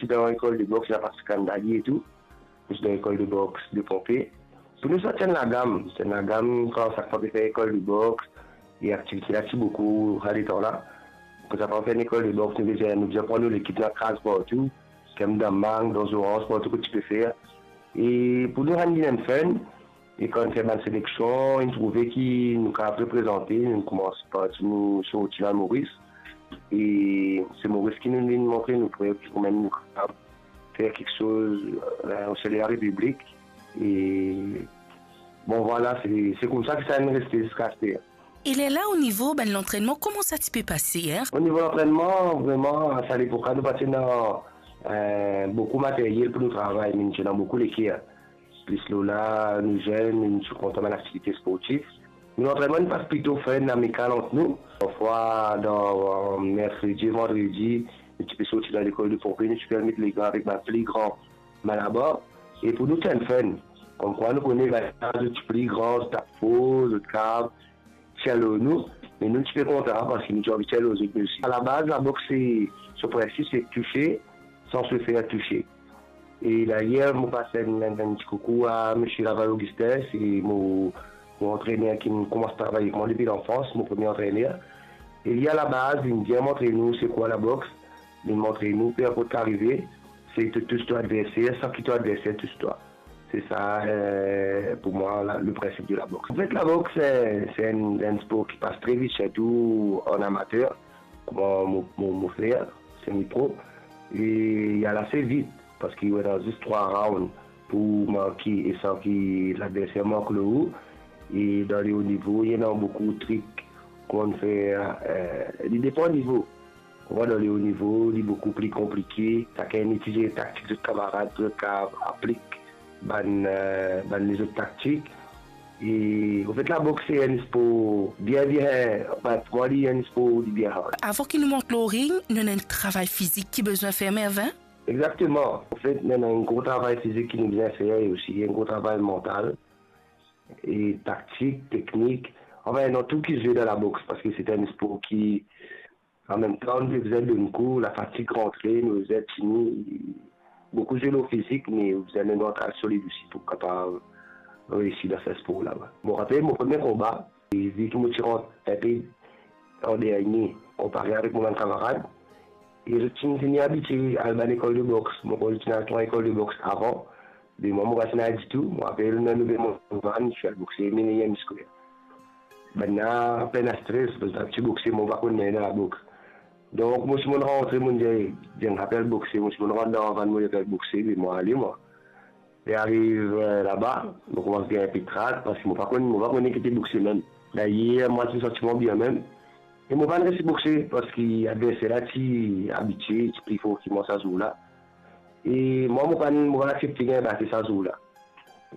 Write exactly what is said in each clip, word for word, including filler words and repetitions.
ti dan lekol de boks, la Patrick Andali e tou. Ti dan lekol de boks de Ponpe. Pou nou sa ti enn lagam, ti enn lagam kan sak fwa pe fer lekol de boks, e aktivite la ti boukou sa letan la. Kan sa pa fer lekol de boks, nou bizin, nou bizin pran nou lekip, nou al kraz partou, kem dan mang, dan zoranz, partou kot ti pe fer. E pou nou rann li enn fun, e kan fer bann seleksion, inn trouve ki nou kapav reprezante, nou koumans parti, nou sorti dan Moris. E se Moris ki nou vinn montre nou pre, kouma nou kapav fer kiksoz, eh, o seri larepiblik. E bon, vwala, se, se koumsa ki sa inn reste ziska aster. E lerla, o nivo bann lantrennman, kouma sa ti pe pase, eh? O nivo lantrennman, vreman, sa lepok la, nou pa ti ena, eh, boukou materyel pou nou travay, me nou ti ena boukou leker. Plis lor la, nou zenn, nou ti kontan bann aktivite sportif. Nou lantrennman, nou pas plito fun, amikal ant nou. Parfwa, dan, eh, merkredi, vandredi, nou ti pe sorti dan lekol de Ponpe, nou ti pe al met legan avek bann pli gran Malabar. E pou nou, ti enn fun. Komkwa nou kone bann la, zot ti pli gran, zot tap for, zot kav tir lor nou, me nou ti pe kontan, parski nou ti anvi tir lor zot osi. Alabaz, laboks, se, so prinsip, se touche san se fer touse. E dayer, mo pas enn, enn, enn ti koukou a misie Laval Augustin, se mo, mo antrener ki koumans travay avek mwa depi lanfans, mo premie antrener. E li, alabaz, linn bien montre nou se kwa laboks, linn montre nou, pe inport ki arive, se to tous to adverser, san ki to adverser tous twa. Se sa, eh, pou mwa, la, le prinsip de laboks. Anfet, laboks, eh, se enn, enn spor ki pas tre vit, sirtou an amater, kouma mo, mo, mo fer, semi pro. E li al ase vit, parski ou ena zis trwa round pou marke e san ki ladverser mark lor ou. E dan le o nivo, li ena boukou trik, kouma fer, eh, li depan nivo. Ou konpran, dan le o nivo, li boukou pli konplike. Sakenn itiliz taktik zot kamarad pou zot kapav aplik bann, eh, bann lezot taktik. E, anfet, laboks se enn spor bien, bien, anfin, pou mwa, li enn spor li bien hard. Avan ki nou mont lor ring, nou ena enn travay fizik ki bizin fer, Mervin? Exakteman. Anfet, nou ena enn gro travay fizik ki nou bizin fer e osi enn gro travay mantal e taktik, teknik. Anfin, ena tou ki zwe dan laboks, parski se enn spor ki Anmemtan, nou bizin donn kou, lafatig rantre, nou bizin tini, boukou zwe lor fizik, me ou bizin enn mantal solid osi pou kapav reisi dan sa spor la. Mo rapel mo premie konba, e vi ki mo ti rant inpe an dernie, konpare avek mo bann kamarad, e zot ti, ti fini abitie al bann lekol de boks. Mo konn zot ti al twa lekol de boks avan, me mwa, mo pa ti al ditou. Mo rapel, nou vinn mont vann, ti al bokse, me nanye miskler. Bannla pena stres, parski zot ti bokse, mo pa konn nanye dan laboks. Donk, mo ti monn rantre, mo dir, dir, mo apel bokse, mo ti monn rant dan vann, mo dir, apel bokse, me mo ale, mwa. E ariv, eh, laba, mo koumans gagn inpe trak, parski mo pa konn, mo pa konn ki ti bokse mem. Dayer, mo ti santi mwa bien mem. E mo pa reisi bokse, parski adverser la ti abitie, ti pli for ki mwa sa zour la. E mwa, mo pa, mo pa aksepte gagn bate sa zour la.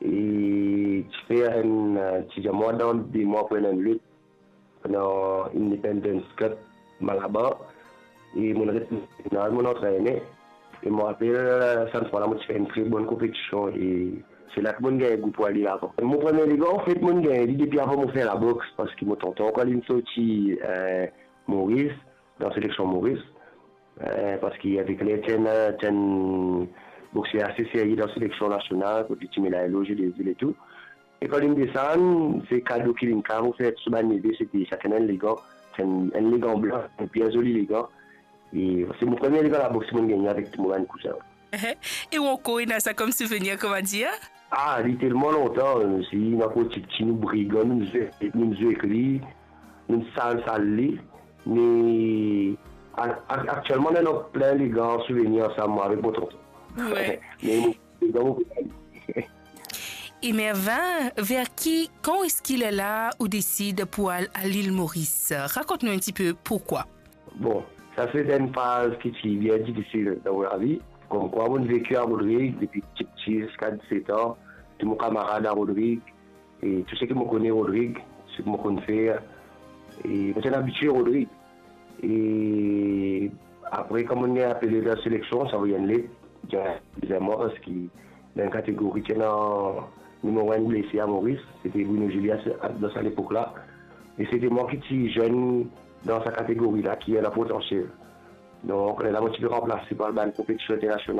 E ti fer enn, ti dir mwa dan de mwa pou enn lot, dan Independence Cup Malabar. E mo res, mo antrene. E mo rapel, sa fwa la, mo ti fer enn tre bonn konpetision e se la ki mo gagn gou pou ale lavan. Mo premie legan, anfet, mo gagn li depi avan mo fer laboks, parski mo tonton, kan linn sorti, eh, Moris, dan seleksion Moris, eh, parski avek li, ti enn, ti enn bokser ase serye dan seleksion nasional, kot li ti met la loz de vil e tou. E kan linn desann, se kado ki linn kapav ofer tou so bann neve, se ti sakenn enn legan, ti enn, enn legan blan, enn bien zoli legan. E se mo premie legan laboks mo gagne avek tou mo bann kouzin. E ou ankor ena sa kom souvenir, kouma dir? Ah, li telman lontan, si nou ankor tipti, nou brigan, nou zwe, nou zwe ek li, nou sal, sal li. Me a-, a-, aktielman, nou ena plin legan souvenir ansam, mwa avek mo tonton. Wi. Me mo, legan mo pe ale. E Mervin, ver ki, kan eski lerla ou desid pou al, al Lil Moris? Rakont nou enn tipe poukwa. Bon, sa se enn faz ki ti bien difisil dan mo lavi. Komkwa, mo veki a Rodrig depi tipti ziska diset an. Tou mo kamarad a Rodrig, e tou seki mo kone Rodrig, seki mo konn fer, e mo ti abitie Rodrig. E apre, kan mo gagn apele dan seleksion, sa avoy enn let, dir bizin mwa, parski dan kategori ti ena nimero enn blese a Moris, se ti Bruno Julius dan sa lepok la. E se ti mwa ki ti zenn dan sa kategori la, ki ena potansiel. Donk, lerla mo ti pe ranplase par bann konpetision internasional.